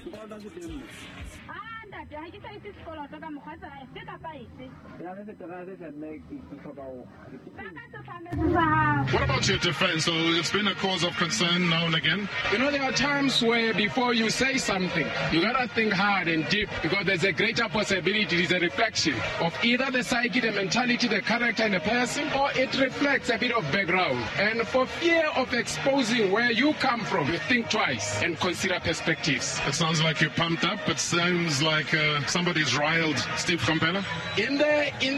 Sekoloto se teng mo. Ah, ntate, ha ke sa itse sekoloto ka mokgwa tsela efe kapa efe. Ya re fete ra se mme ke hloka ho. Baka sefamelo sa hao. What about your defense? So it's been a cause of concern now and again. You know, there are times where before you say something, you gotta think hard and deep because there's a greater possibility it's a reflection of either the psyche, the mentality, the character in a person, or it reflects a bit of background. And for fear of exposing where you come from, you think twice and consider perspectives. It sounds like you're pumped up. It sounds like somebody's riled Steve Komphela. In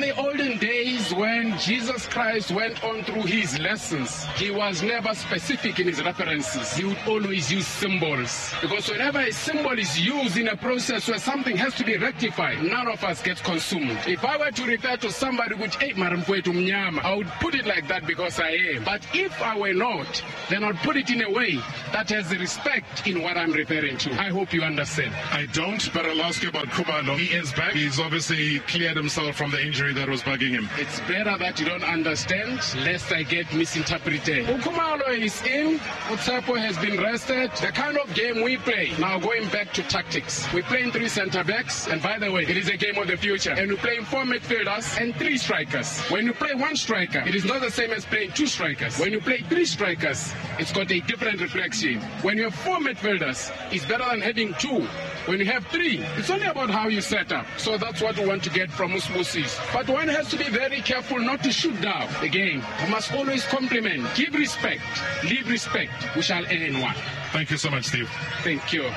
the olden days when Jesus Christ went on through his lessons, he was never specific in his references. He would always use symbols. Because whenever a symbol is used in a process where something has to be rectified, none of us gets consumed. If I were to refer to somebody with hey, Maramfwetu Mnyama, I would put it like that because I am. But if I were not, then I'd put it in a way that has respect in what I'm referring to. I hope you understand. I don't, but I'll ask you about Khumalo. He is back. He's obviously cleared himself from the injury that was bugging him. It's better that you don't understand, lest I get misinterpreted. Khumalo is in. Utsepo has been rested. The kind of game we play, now going back to tactics, we're playing 3 centre-backs, and by the way, it is a game of the future. And we're playing 4 midfielders and 3 strikers. When you play 1 striker, it is not the same as playing 2 strikers. When you play 3 strikers, it's got a different reflection. When you have 4 midfielders, it's better than having 2. When you have 3, it's only about how you set up. So that's what we want to get from Usbusis. But one has to be very careful not to shoot down the game. We must always compliment, give respect, leave respect. We shall earn one. Thank you so much, Steve. Thank you.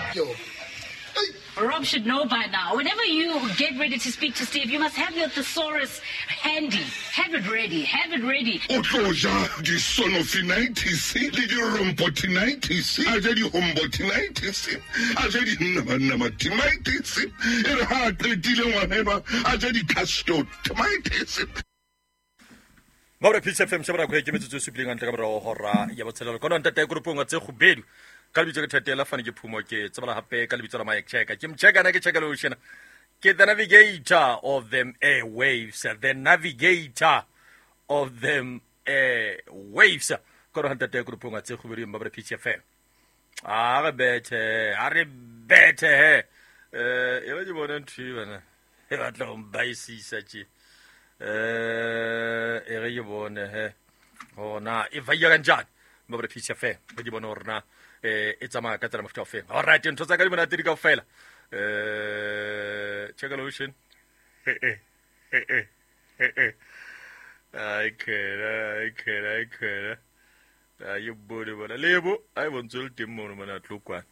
Rob should know by now. Whenever you get ready to speak to Steve, you must have your thesaurus handy. Have it ready. Have it ready. O tlo ja disonofinitis le dirompotinitis, a ja dihombotinitis, a ja dinamanamatimitis, e re ha a qetile ngwana a ja dicastomitis. Maure Peace FM shebra go ke metsotso e supileng ntle ka morao hora ya botshelelo. Kono ntate grupong tse kgubedu. Ka lebitso ke Thatela fane ke Phumo ke tsebala hape ka lebitso la Mike Checker. Ke mcheka na ke check lo shena. Ke the navigator of them airwaves, the navigator of them airwaves. Kono ntate grupong tse kgubedu Maure Peace FM. A re bethe, a re bethe he. E ba ke bona ntho e bana. E batla ho mbaisisa tje. E re ke bone he. Hona e vaya kanjani Maure Peace FM. Ke bone hore na e tsamaya ka tsela mofuta o feng. All right, ntho tsa ka di monate di kaofela. Check lotion. Ai khela, ai khela, ai khela. Ai bone bona. Lebo, ai bontse le teng mono mona tlo kwana.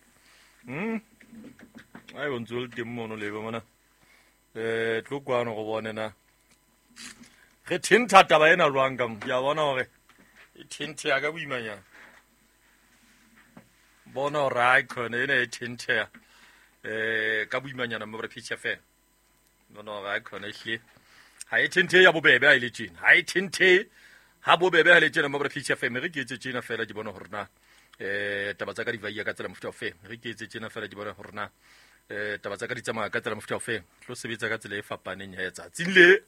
Ai bontse le teng mono lebo mona. Tlo kwana go bone na. Re thintha taba ena jwang ka mo. Ke a bona hore e thinthe ya ka boimanyana. Bona hore ha khone ena e thinthe ka boimanyana mo re Peace FM. Bona hore ha khone ehle. Ha e thinthe ya bobebe ha ile tjena. Ha e thinthe ha bobebe ha ile tjena mo re Peace FM. Re ke etse tjena fela ke bona hore na taba tsa ka di vaya ka tsela mofuta o feng. Re ke etse tjena fela ke bona hore na taba tsa ka di tsamaya ka tsela mofuta o feng. Tlo sebetsa ka tsela e fapaneng ya tsatsing le.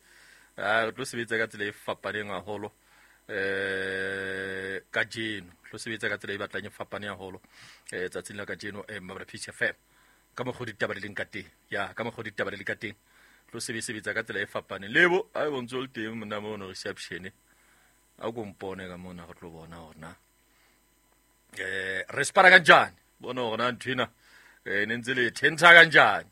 Re tlo sebetsa ka tsela e fapaneng haholo kajeno. Tlo sebetsa ka tsela e batlang e fapaneng haholo tsatsing la kajeno Maure Peace FM. Ka mokgwa ditaba di leng ka teng. Ya, ka mokgwa ditaba di leng ka teng. Tlo sebetsa ka tsela e fapaneng. Lebo, a bontse le teng mona mono reception. A go mpone ka mona go tlo bona hore na re spara kanjani. Bona hore na ntho ena ne ntse le thentha kanjani.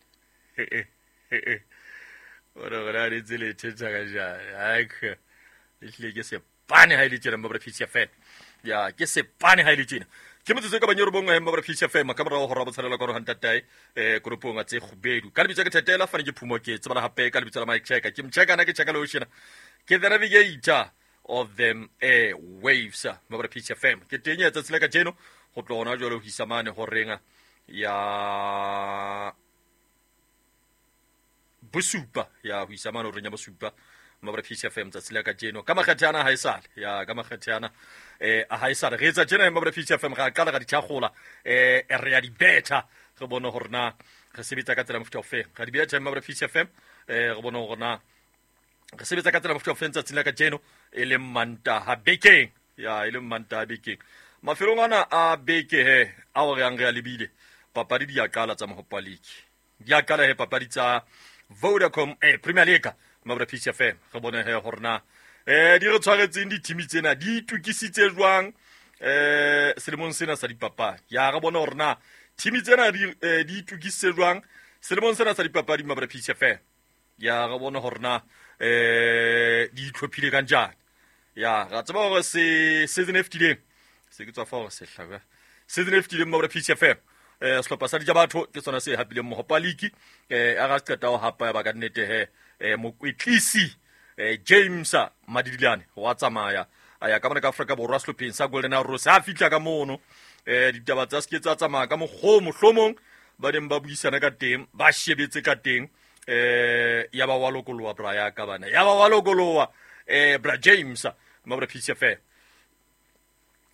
Bona hore na ntse le thentha kanjani. Ai ke ehlile ke sepane ha ile tjena Maure Peace FM. Ya, ke sepane ha ile tjena. Ke motsotso ka banyoro bongwe Maure Peace FM ka morao hora botshelela ka hore ntatae koropong tse kgubedu. Ka lebitso ke Thatela fane ke Phumo ke tsebala hape ka lebitso la Mike Checker. Ke mcheka na ke cheka lo shena. Ke the navigator of them airwaves Maure Peace FM. Ke teng ya tsatsi la kajeno go tlo hona jwale ho isa mane horeng ya bosupa ya ho isa mane horeng ya bosupa Maure Peace FM tsatsi la kajeno ka makgethe ana ha esale ya ka makgethe ana ha esale re etsa tjena Maure Peace FM ra qala ra di tshakgola re ya di betha re bone hore na re sebetsa ka tsela mofuta o feng ra di betha Maure Peace FM re bone hore na re sebetsa ka tsela mofuta o feng tsatsi la kajeno e leng Mantaha bekeng ya e leng Mantaha bekeng mafelong ana a beke he a o re yang re a lebile Papadi di a qala tsa Mohopa League. Di a qala he papadi tsa Vodacom Premier League. Mabra Peace FM re bone he hore na di re tshwaretseng di-team tsena di itukisitse jwang selemong sena sa dipapadi. Ya re bone hore na team tsena di itukisitse jwang selemong sena sa dipapadi Mabra Peace FM. Ya re bone hore na di itlhophile ka njani. Ya ra tseba hore se season e fetileng se ke tswa fa hore se hlabe season e fetileng Mabra Peace FM sehlopha sa Dijabatho ke sona se hapileng Mohopa League a ra qeta ho hapa ya ba ka nnete he mokwetlisi James Madidilane wa tsamaya a ya ka mona ka Afrika Borwa sehlopheng sa Golden Arrows. Ha fihla ka mono ditaba tsa se ke tsa tsamaya ka mokgwa mohlomong ba neng ba buisana ka teng ba shebetse ka teng ya ba wa lokoloha bra ya ka bana ya ba wa lokoloha bra James Mabra Peace FM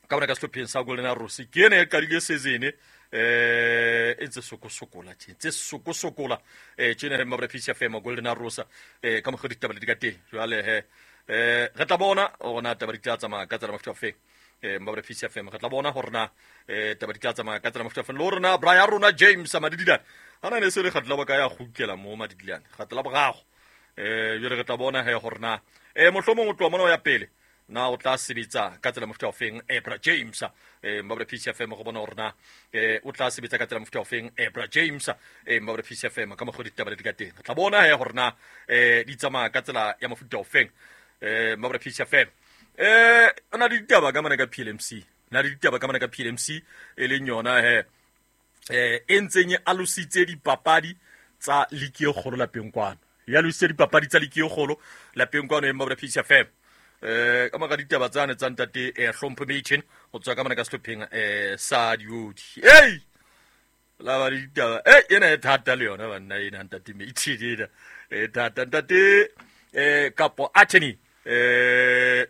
ka mona ka sehlopheng sa Golden Arrows ke ena e qadile season e ntse sokosokola tje ntse sokosokola tjena he Mabra Peace FM Golden Arrows ka mokgwa ditaba di ka teng. Jwale he re tla bona hore na taba di tla tsamaya ka tsela mofuta ofe Mabra Peace FM re tla bona hore na taba di tla tsamaya ka tsela mofuta ofe le hore na bra ya rona James Madidilane hana ne se le kgatla ba ka ya kgutlela mo Madidilane kgatla borago jwale re tla bona he hore na mohlomong o tloha mona o ya pele na o tla sebetsa ka tsela mofuta ofeng bra James Mabra Peace FM go bona hore na o tla sebetsa ka tsela mofuta ofeng bra James Mabra Peace FM ka mokgwa ditaba di ka teng. Re tla bona he hore na di tsamaya ka tsela ya mofuta ofeng Mabra Peace FM. O na le ditaba ka mona ka PLMC na le ditaba ka mona ka PLMC e leng yona he e ntseng e alositse dipapadi tsa ligi e kgolo lapeng kwano. Ya alositse dipapadi tsa ligi e kgolo lapeng kwano e Mabra Peace FM. Ka mora ditaba tsane tsa ntate Hlompho Machen ho tswa ka mona ka sehlopheng sa Diodi. Ei la ba ditaba ena e thata le yona banna ena ntate Machen ena e thata ntate kapo attorney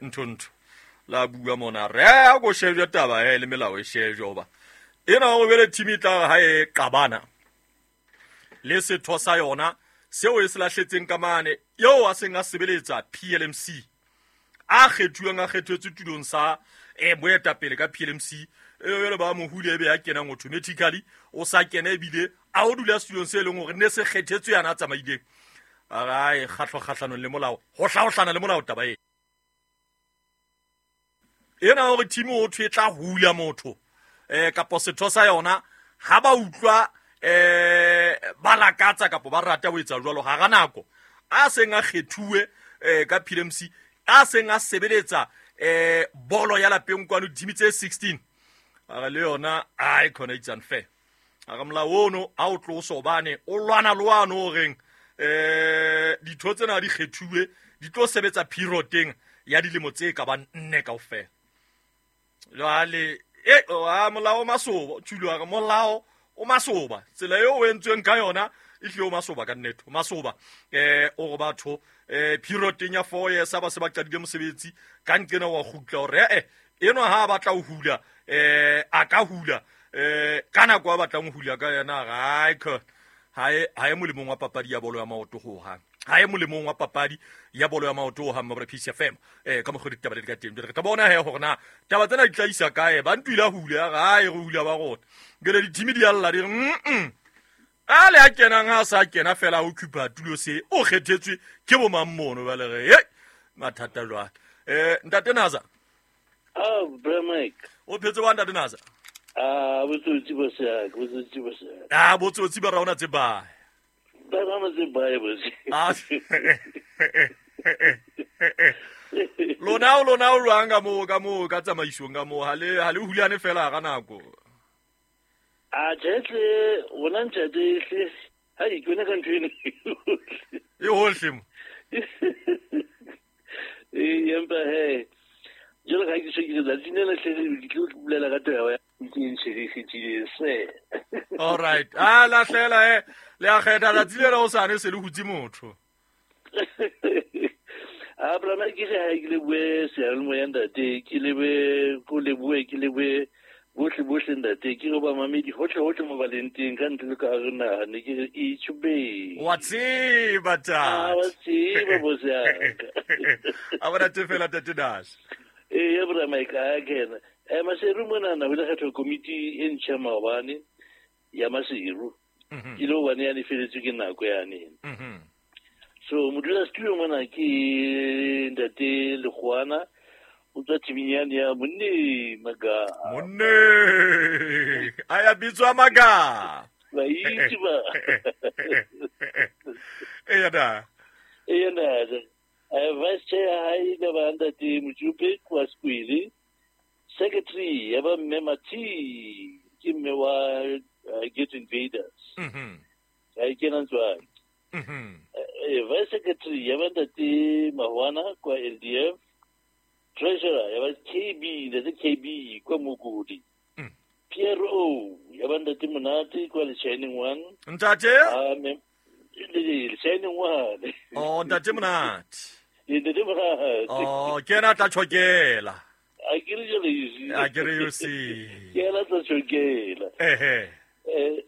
ntho la bua mona re a go shejwa taba le melao e shejwa hoba ena o bele team e tla ha e qabana le setho sa yona seo e se lahletseng ka mane eo a seng a sebeletsa PLMC a kgethuwang a kgethetswe tulong sa moetapele ka PLMC e le ba mohule ebe ya kenang automatically o sa kena ebile a o dula setulong se leng hore ne se kgethetswe yana a tsamaileng a e kgatlho kgahlanong le molao ho hlaohlana le molao taba ena hore team o thwe tla hula motho kapo setho sa yona ha ba utlwa ba lakatsa kapo ba rata ho etsa jwalo hara nako a seng a kgethuwe ka PLMC a seng a sebeletsa bolo ya lapeng kwano team tse 16 a le yona ai khona it's unfair a re molao ono a o tloso hobane o lwana lwano o reng ditho tsena di kgethuwe di tlo sebetsa period ya dilemo tse ka bang nne kaofela. Jwale molao o masoba tshilo a re molao o masoba tsela eo o entsweng ka yona e hlile o masoba ka nnete o masoba o re batho period ya 4 years ba se ba qadile mosebetsi ka nqena wa kgutla hore enwa ha batla ho hula a ka hula ka nako a batlang ho hula ka yena ha e molemong wa papadi ya bolo ya maoto ho hang ha e molemong wa papadi ya bolo ya maoto ho hang Mabra Peace FM ka mokgwa ditaba di ka teng. Re tla bona he hore na taba tsena di tla isa kae ba ntwila hula ha e re hula ba rona ngele di-team di alla di re a le a kenang ha sa kena fela o occupy tulo se o kgethetswe ke bo mang mono ba le re mathata jwale ntate Naza. Bra Mike o phetse wa ntate Naza botsotsi bo se botsotsi bo se botsotsi ba rona tse ba ba rona tse ba botse lona o lwang ka mo ka tsamaisong ka mo ha le hulane fela ka nako a jetle wona ntate hle ha ke yona ka ntho eno e hohle mo empa he jalo ga ke se ke letsatsi le hle ke tlo bolela ka taba ya ke ntshedisitse se. All right a lahlela le a kgetha letsatsi le o sane se le hutse motho a bra ke re ha ke le bue seyalemoya ntate ke lebe ko leboe ke leboe bohle bohle ntate ke re ba mamedi hohle hohle mo ba leng teng ka ntle le ka hare naha ne ke re itjhube wa tseba tata wa tseba boss ya a bona tse fela tate Dash ya bra Mike a kena Maseru monana ho ile kgethwa komiti e ntjha maobane. ya Maseru e le hobane yane feletswe ke nako yane. So modulasetulo mona ke ntate Lekgoana o tswa teaming yane ya Monne Maga. Monne a ya bitswa Maga. Ba itse ba. Eya da. Eya da. Vice chair hae le ba ntate Mojupe kwa Skwele. Secretary ya ba mme Mathi ke mme wa Get Invaders. Ga e kena ntswaki. Vice secretary ya ba ntate Mahwana kwa LDF. Treasurer ya ba KB, ntate KB kwa Mokodi. PRO ya ba ntate Monate kwa Le Shining One. Ntate? Le Shining One. Oh, ntate Monate. Ntate Monate. Oh, ke ena tla tshokela. A ke re jale you. A ke re you see. Ke ena tla tshokela. Ehe.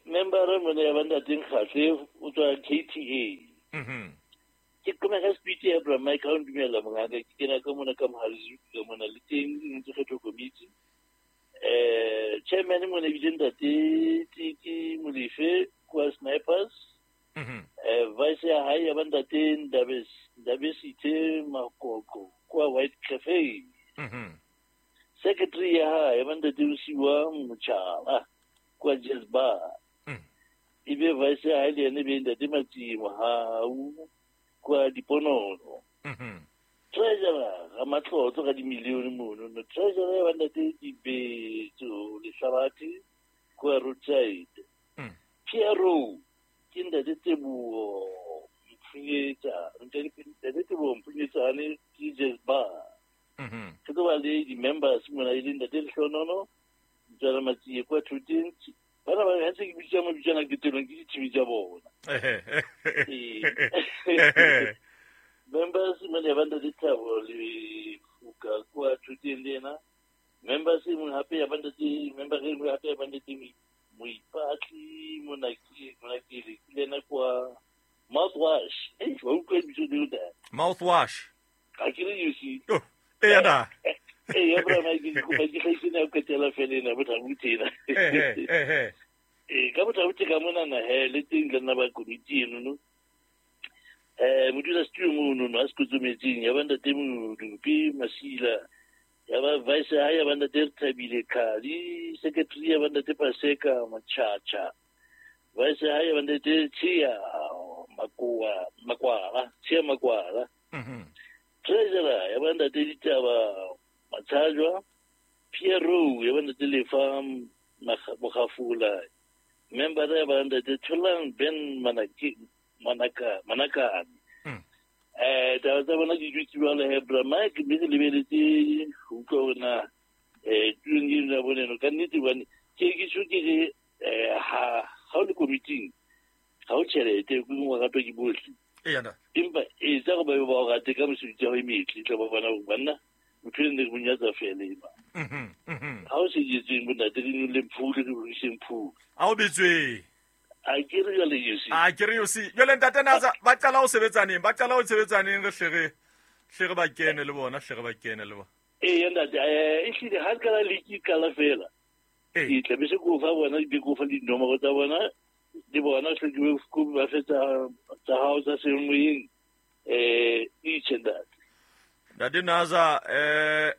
Member mone ya ba ntate Nkgatle o tswa KTA. Ke koma ka speech ya Bra Mike ha o ntumella mongaka ke kena ka mona ka mohalezu ka mona le teng ntse kgetho committee. Chairman mone ebile ntate Tiki Molefe kwa Snipers. Vice ya hae ya ba ntate Ndabesithe Makoko kwa White Cafe. Secretary ya hae ya ba ntate Usiwa Mochala kwa Jazz Bar. Ebe vice ya hae le ene be ntate Matsi Mohau kwa Diponono. Treasurer ga matlotlo ga dimilione mono no. Treasurer ya ba ntate Dibetso Lehlabathe kwa Roadside. PRO ke ntate Teboho Mphunyetsa, ntate Teboho Mphunyetsane ke Jazz Bar. Ke tlo ba le di-members mona e le ntate Lehlonono Ntswana Matsie kwa Thoteng. Bana ba ntse ke bitsa mabitsana ke telong ke dithimi tsa bona. Members mone ya ba ntate Thabo le Fuka kwa Thoteng le ena. Members e mong hape ya ba ntate member e nngwe hape ya ba ntate Moipatli Monakele le ena kwa Mouthwash. Wa utlwa lebitso leo da? Mouthwash. Ga ke re you see. Oh, eya da. Eya bra Mike ke kopa ke hlaise na qetela fela ena bothabo tena. Ehe. Ka bothabo ka mona na he le teng le nna ba committee eno no. Modulasetulo mono no a se kotsometseng ya ba ntate Modupi Masila. Ya ba vice ha ya ba ntate Thabile Khali, secretary ya ba ntate Paseka Machacha. Vice ha ya ba ntate Chia Makwala, Chia Makwala. Treasurer ya ba ntate Ditaba Matshajwa, PRO ya ba ntate Lefa Mogafula. Member ya ba ntate Tholang Ben Manakane. Taba tsa bona ke dutse jwalo he Bra Mike mme ke lebeletse ho utlwa hore na tulong eno ya bona eno ka nnete hobane ke ke tjho ke re ha o le committee ha o tjhelete ke wa ratwa ke bohle. Eya. Empa etsa gore ba be ba o rate ka mesebetsi ya hao e metle tla ba bona hore banna motho ene re mo nyatsa fela ema. Ha o se jetseng bontate re nyolleng phule re ruiseng phule. A o bitswe. A ke re jwale you see. A ke re you see. Jwale ntate Naza ba qala ho sebetsaneng, ba qala ho sebetsaneng re hle re ba kene le bona, hle re ba kene le bona. Eya ntate, ehlile ha ka la league qala fela. Ke tla be se ko fa bona di ko fa dinomoro tsa bona di bona hle ke ko ba fetsa tsa hao tsa semoyeng each and that. Ntate Naza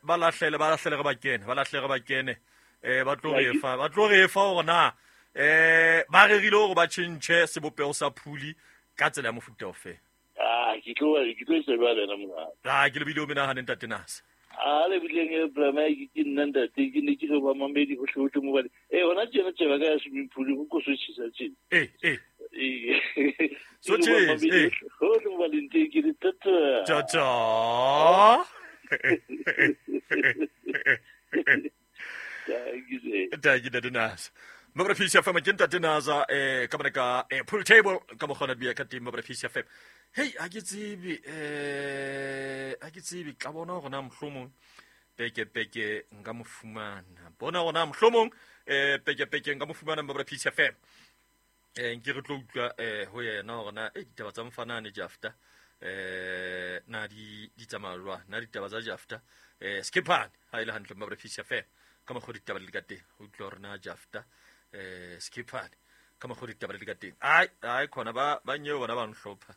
ba lahlele re ba kene, ba lahlele re ba kene. Ba tlo re fa, ba tlo re fa hore na ba rerile hore ba tjhentjhe sebopeho sa phuli ka tsela ya mofuta ofe. Ke tlo etsa jwalo yena mongaka. Ke lebile o menahane ntate Naza. A le bileng e Bra Mike ke nna ntate ke ne ke re ba mamedi hohle hohle mo bale. Hona tjena tjeba ka ya swimming pool go ko so tjhesa tjena. So tjhesa. Hohle mo baleng teng ke re tata. Tata. Thank you ntate Naza. Mabra Peace FM ke ntate Naza ka bona ka pool table ka mokgona bia ka teng Mabra Peace FM. Hey, ha ke tsebe ka bona hore na mohlomong peke nka mo fumana. Bona hore na mohlomong peke nka mo fumana Mabra Peace FM. Nke re tlo utlwa ho yena hore na ditaba tsa mfanane Jafta na di tsamaya jwang, na ditaba tsa Jafta Skipane ha ile hantle Mabra Peace FM. Ka mokgwa ditaba di le ka teng ho utlwa hore na Jafta Skipane Ka mokgwa ditaba di ka teng. Ai ai khona ba ba nyeo bona ba nhlopha.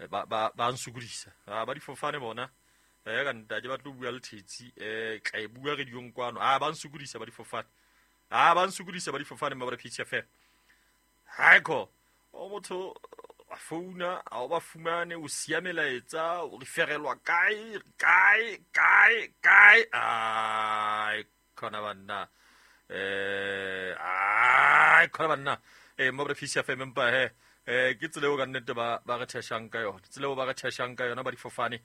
Ba ba ba nsukodisa. Ba difofane bona. Ka ntate ba tlo bua le thetsi tla e bua radiong kwano. A ba nsukodisa ba difofane. A ba nsukodisa ba difofane ba PCFM. Haiko o motho a founa a o ba fumane o siya melaetsa o referelwa kae kae kae kae. Ai khona banna ai khona banna mo re PCFM empa he ke tsela eo ka nnete ba ba re theshang ka yona, tsela eo ba re theshang ka yona ba difofane.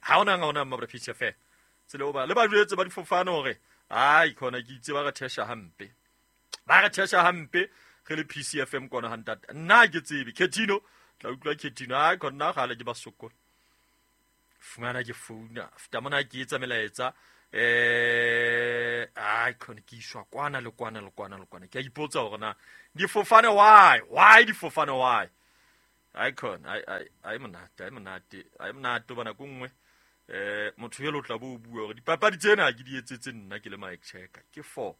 Ha ona nga ona mo re PCFM tsela eo ba le ba jwetse ba difofane hore ai khona ke itse ba re thesha hampe, ba re thesha hampe re le PCFM kona ha ntate. Nna ke tsebe Ketino tla utlwa Ketino ai khona gale ke ba sokola fumana ke founa feta mona ke etsa melaetsa ai khona ke iswa kwana le kwana le kwana le kwana. Ke a ipotsa hore na difofane why difofane why. Ai khona ai ai ai monate ai monate ai monate bana ko nngwe motho elo tla bo bua hore dipapadi tsena ke di etsetse nna ke le Mike Checker ke for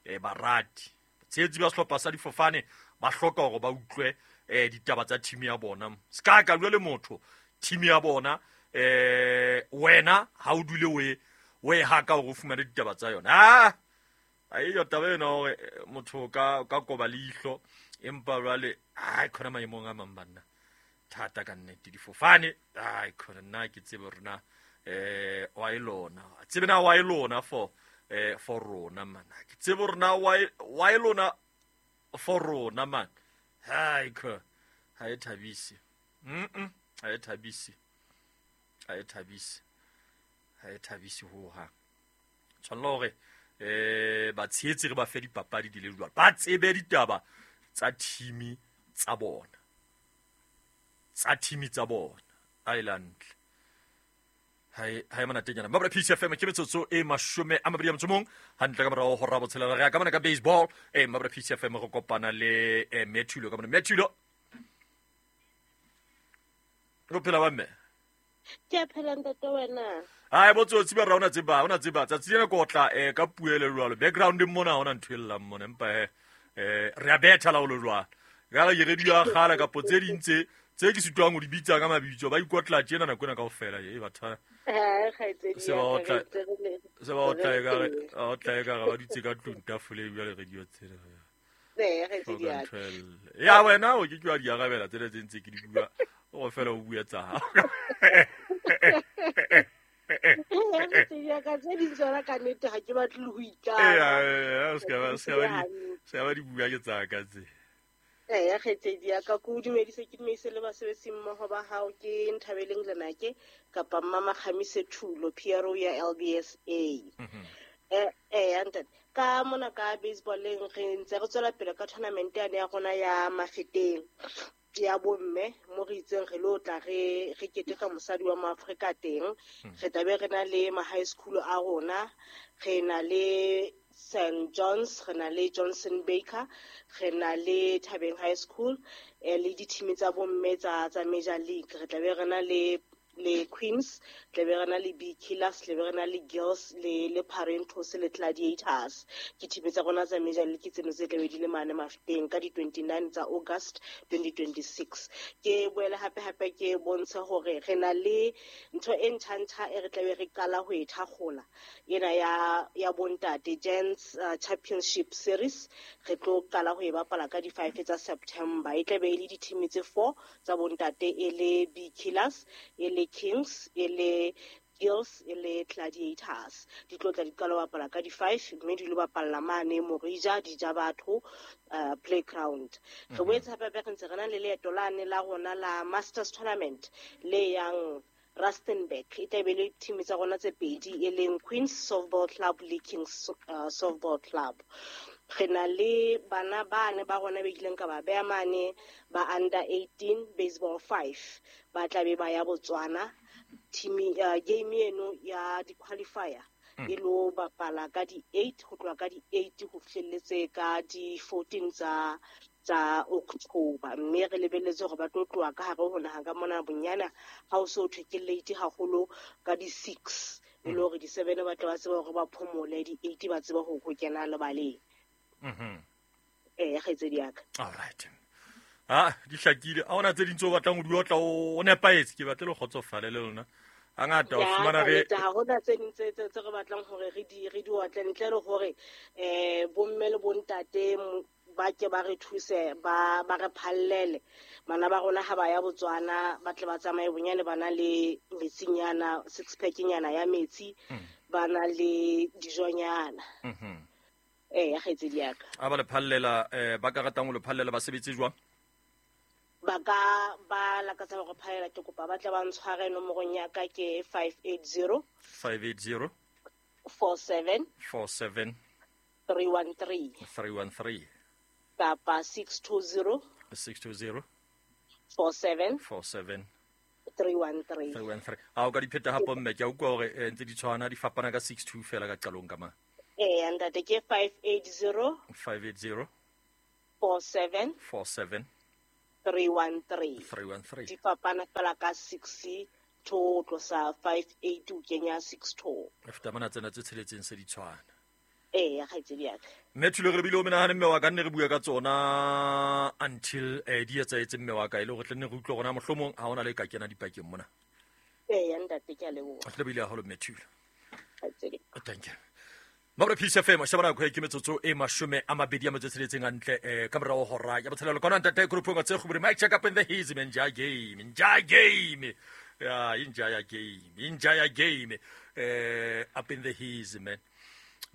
barati tshehetsi ba sehlopha sa difofane ba hloka hore ba utlwe ditaba tsa team ya bona. Ska ka bua le motho team ya bona wena ha o dule o e haka hore o fumane ditaba tsa yona. Ah ai yo taba ena hore motho ka koba leihlo empa jwale ai khona maemong a mang banna thata ka nnete difofane. Ai khona nna ke tsebe rona wa e lona tsebe na wa e lona for for rona man, ke tsebe rona wa e lona for rona man. Hai kho ha e thabise ha e thabise ha e thabise ha e thabise ho hang. Tshwanela hore ba tshehetsi re ba fe dipapadi di le jwalo, ba tsebe ditaba tsa team tsa bona, tsa team tsa bona. Island hai monatenyana ba bra PCFM ke metsotso e 21 hantle ka morao ho rabo tshelela. Re ya ka mona ka baseball mabra PCFM go kopana le Methulo ka mona. Methulo go phela ba mme ke a phela ntate wena. Ai botsotsi ba rona tseba ona tseba tsatsi lena kotla ka puele jwalo background mona ona ntho e llang mona empa re a betha la o le jwalo ka re radio ya kgala kapo tse ding tse ke sitwang ho di bitsa ka mabitso ba ikotla tjena nako ena kaofela e batho se ba otla e ka re ba dutse ka tlung tafole jwale radio tsena ya wena o ke ke wa di arabela tsena tse ntse ke di bua o fela o bua tsa hao. Ya ka tse ding tsona ka nnete ha ke batle le ho itlama. Se ka ba di bua ke tsa ka tse. Ya kgaitsedi ya ka ko dumedise ke dumedise le basebetsi mmoho ba hao ke Nthabeleng Lenake kapa Mama Kgamise Thulo PRO ya LBSA. Ntate ka mona ka baseballeng re ntse re tswela pele ka tournament yane ya rona ya Mafeteng ya bomme mo re itseng re lo tla re keteka mosadi wa Maafrika teng. Re tla be re na le ma high school a rona, re na le St. John's, re na le Johnson Baker, re na le Thabeng High School, le di-team tsa bomme tsa Major League. Re tla be re na le Queens, tla be re na le B Killers, tla be re na le Girls, le Parentos le Gladiators. Ke team tsa rona tsa Major League tseno tse tla be di le mane Mafeteng ka di-29 tsa August 2026. Ke boele hape hape ke bontshe hore re na le ntho e ntjha-ntjha e re tla be re qala ho e thakgola ena ya bontate Gents Championship Series. Re tlo qala ho e bapala ka di-5 tsa September. E tla be e le di-team tse 4 tsa bontate, e le B Killers, e le Kings, e le Girls, e le Gladiators. Di tlo tla di qala ho bapala ka di-5 mme di lo bapalla mane Morija di ja batho playground. Re boetse hape hape re ntse re na le leeto lane la rona la Masters Tournament le yang Rustenburg. E tla be le team tsa rona tse pedi e leng Queens Softball Club le Kings Softball Club. Re na le bana bane ba rona be kileng ka ba beha mane ba under 18 baseball 5 ba tla be ba ya Botswana. Team game eno ya di-qualifier e lo bapala ka di-8 ho tloha ka di-8 ho fihlelletse ka di-14 tsa October. Mme re lebelletse hore ba tlo tloha ka hare ho naha ka mona bonyana ha o so thwe ke late haholo ka di-6 e le hore di-7 ba tla ba tseba hore ba phomole, di-8 ba tseba ho kena lebaleng. Ee, kgaitsedi ya ka. All right, a di hlakile. A ona tse ding tse o batlang ho di otla, o nepahetse. Ke batle le kgotsofale le lona hangata o fumana re ha hona tse ding tse re batlang hore re di otle ntle le hore bomme le bontate ba ke ba re thuse, ba re phallele bana ba rona ha ba ya Botswana, ba tle ba tsamaye bonyane ba na le metsinyana, six pack-nyana ya metsi, ba na le dijonyana. Ee, kgaitsedi ya ka. A ba le phallela, ba ka ratang ho le phallela ba sebetse jwang? Ba ka ba lakatsa hore phalela, ke kopa ba tle ba ntshware nomorong ya ka ke 580 580 47 47 313 313 kapa 620 620 47 47 313 313. A o ka di pheta hape mme, ke a utlwa hore ntse di tshwana, di fapana ka 62 fela ka qalong ka mang. Ee, ntate, ke 580 580 47 47 313 313. Di fapana fela ka 6 to tlosa 58 o kenya 62. Feta mona tsena tse tsheletseng se di tshwana. Ee, kgaitsedi ya ka. Mme Thulo, re bile o menahane mme wa ka, nne re bua ka tsona until di etsahetse mme wa ka, e le hore tle nne re utlwe rona mohlomong ha hona le ka kena dipakeng mona. Ee, ntate, ke a leboha. Re bile haholo mme Thulo. Kgaitsedi. Thank you. Mabra Peace FM, shebana go ke metsotso e 26 hantle ka morao hora ya botshelelo. Kona ntate groupong tse khubure mic check up in the haze men ja game, ja game. Ya inja ya game, inja ya game. Up in the haze man.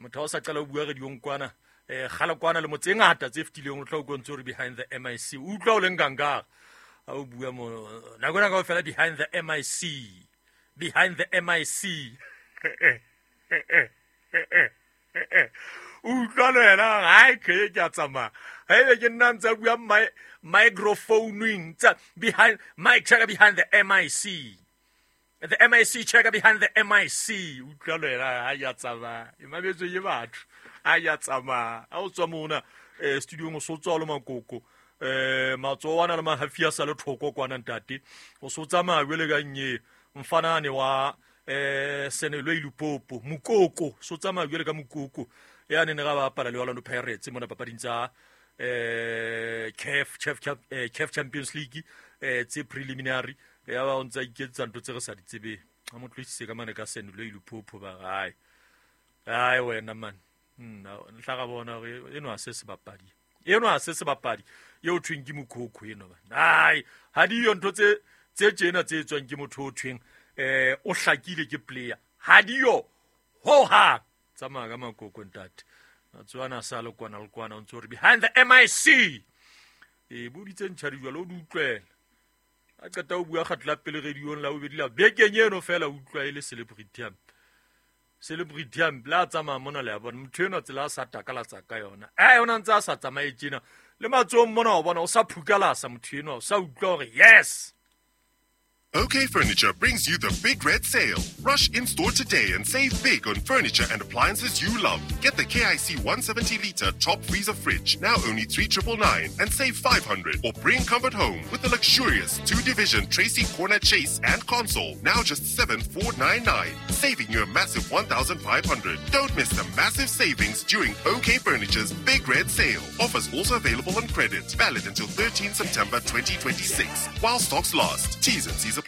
Motho o sa qala o bua radiong kwana, kgale kwana le motse ngata tse fetileng o tla o kontse hore behind the MIC. O utlwa o leng ganga. Ha o bua mo nako ena kaofela behind the MIC. Behind the MIC. Utlwa le wena, hai ke a tsamaya. Haebe ke nna ntse a bua microphoning tsa behind mic checker behind the MIC. The MIC checker behind the MIC. Utlwa le wena, ha ya tsamaya. E mametswe ke batho. Ha ya tsamaya. Ha o tswa mona studiong o so tswa le makoko. Matsoho ana le mahafi a sa le thoko kwana ntate. O so tsamaya jwale ka nnye mfanane wa Senelwe Lupopo Mukoko, so tsamaya jwale ka Mukoko ya ne ne ga ba bapala le Orlando Pirates mona papading tsa CAF Champions League tse preliminary. Ya ba o ntsa iketsa ntho tse re sa di tsebeng. A mo tloisitse ka mane ka Senelwe Lupopo ba gae. Ai wena man. Ntla ga bona hore eno a se sebapadi. Eno a se sebapadi. Eo thweng ke Mukoko eno ba. Ai ha di yo ntho tse tjena tse tswang ke motho o thweng o hlakile ke player. Ha di yo ho ha tsamaya ka makoko ntate. Matswana sa le kwana le kwana o ntse hore behind the MIC. E boditse ntjha di jwalo o di utlwela. A qeta o bua kgatla pele radiong la bobedi la bekeng eno fela utlwa e le celebrity am. Celebrity am la tsamaya mona le a bona motho eno tsela a sa takalatsa ka yona. Ona ntse a sa tsamaye tjena. Le matsohong mona o bona o sa phukalasa motho eno, o sa utlwa hore yes. OK Furniture brings you the Big Red Sale. Rush in-store today and save big on furniture and appliances you love. Get the KIC 170-litre top freezer fridge, now only 3,999, and save 500. Or bring comfort home with the luxurious 2-division Tracy Corner Chase and console, now just 7,499, saving you a massive 1,500. Don't miss the massive savings during OK Furniture's Big Red Sale. Offers also available on credit. Valid until 13 September 2026. While stocks last. T's and C's apply.